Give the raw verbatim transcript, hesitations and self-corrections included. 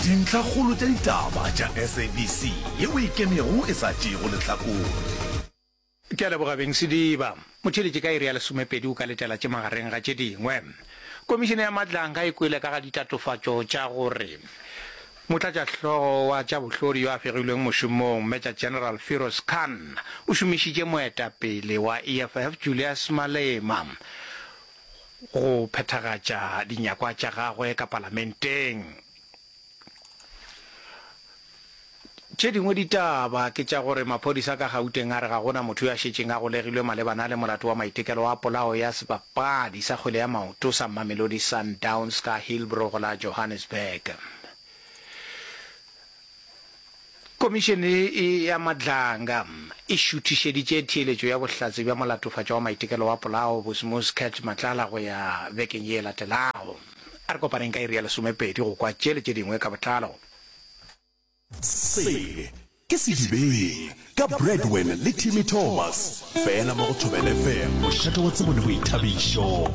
Dintlhakgolo tša ditaba tša S A B C yeo e ikemego e sa tšeego lehlakore. Ke a leboga beng Sediba. Motheeletši ka iri ya lesomepedi o ka letela tše magareng ga tše dingwe. Komišene ya Madlanga e kwele ka ga ditatofatšo tša gore Motlatšahlogo wa tša bohlodi yo a fegilweng mošomong, Major General Firoz Khan, o šomišitše moetapele wa E F F Julius Malema go phethagatša dinyakwa tša gagwe ka palamenteng. Tše dingwe ditaba ke tša gore maphodisa ka Gauteng a re ga gona motho yo a šetšeng a golegilwe malebana le molato wa maitekelo a polao ya sebapadi sa kgwele ya maoto sa Mamelodi Sundowns ka Hillbrow go la Johannesburg. Komišene ya Madlanga e šuthišeditše theeletšo ya bohlatse bja molatofatšwa wa maitekelo wa polao Bosmus Cat Matlala go ya bekeng ye e latelago. A re kopaneng ka iri ya lesomepedi go kwa tše le tše dingwe ka botlalo. Se ke Sedibeng ka Bradwin le Timmy Thomas, fela mo go Thobela F M, mošate wa tsebo le boithabišo.